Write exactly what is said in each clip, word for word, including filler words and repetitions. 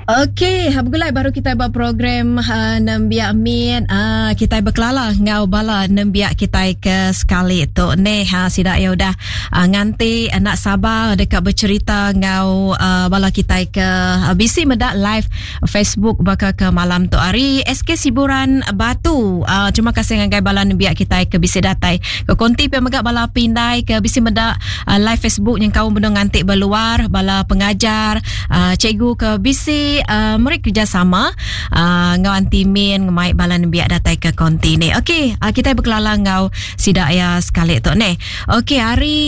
Okey, begulai baru kita ba program uh, Nembiak Mit. Uh, kita berkelala ngau bala nembiak kita ke sekali tu. Neh, ha, sida ya udah uh, nganti anak sabar dekat bercerita ngau uh, bala kita ke uh, bisi medak live Facebook baka ke malam tu hari S K Siburan Batu. Uh, terima kasih ngagai bala nembiak kita ke bisi datai. Ke konti pe megak bala pindai ke bisi medak uh, live Facebook yang kau benung nganti berluar bala pengajar, uh, cikgu ke bisi Uh, meri kerjasama uh, ngau anti min ngemai bala nembiak datai ke konti ni. Okey, uh, kita berkelala ngau sida ya sekali tu ni. Okey, hari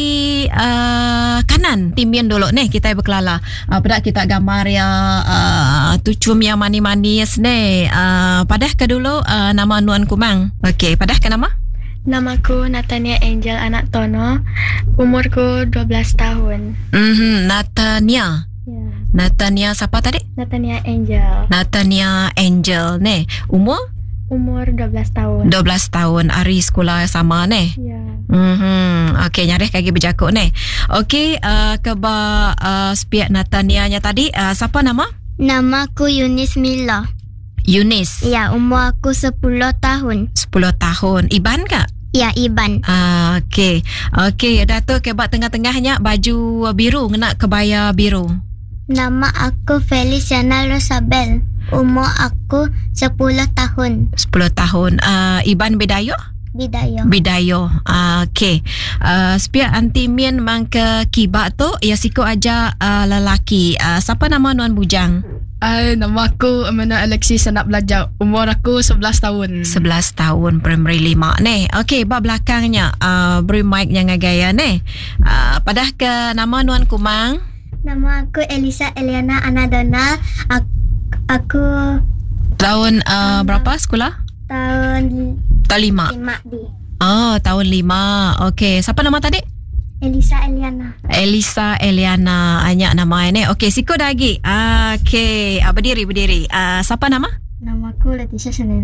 uh, kanan timin dulu ni kita berkelala. Uh, pada kita gambar ya uh, tucum yang manis-manis ni. Uh, padah ke dulu uh, nama Nuan Kumang. Okey, padah ke nama? Namaku Natania Angel anak Tono. Umurku dua belas tahun. Mhm, Natania. Ya. Natania siapa tadi? Natania Angel. Natania Angel ni. Umur? Umur dua belas tahun. dua belas tahun. Hari sekolah sama ni. Ya. Mhm. Okey, nyarih kaki berjakuk ni. Okey, uh, ke ba, uh, sepiak Natania nya tadi, uh, siapa nama? Nama aku Yunis Mila. Yunis. Ya, umur aku sepuluh tahun. sepuluh tahun. Iban kak? Ya, Iban. Ah, okey. Okey, dah tu ke bak tengah-tengahnya baju biru ngena kebaya biru. Nama aku Feliciana Rosabel. Umur aku sepuluh tahun. sepuluh tahun. Uh, Iban Bidayo? Bidayo. Bidayo. Uh, okey. Uh, sepiak anti min mang ke kibak tu, ya siko aja uh, lelaki. Uh, siapa nama Nuan Bujang? Uh, nama aku Amanda Alexis, anak belajar. Umur aku sebelas tahun. sebelas tahun, primary lima ni. Okey, bab belakangnya uh, beri mic yang gaya ni. Uh, padah ke nama Nuan Kumang? Nama aku Elisa Eliana Anadona. Aku, aku tahun, uh, berapa sekolah? Tahun Tahun lima. Lima di. Oh, tahun lima. Okey, siapa nama tadi? Elisa Eliana. Elisa Eliana. Banyak nama ini. Okey, siko lagi. Okey, ah, berdiri, berdiri. Ah, siapa nama? Nama aku Leticia Chanel.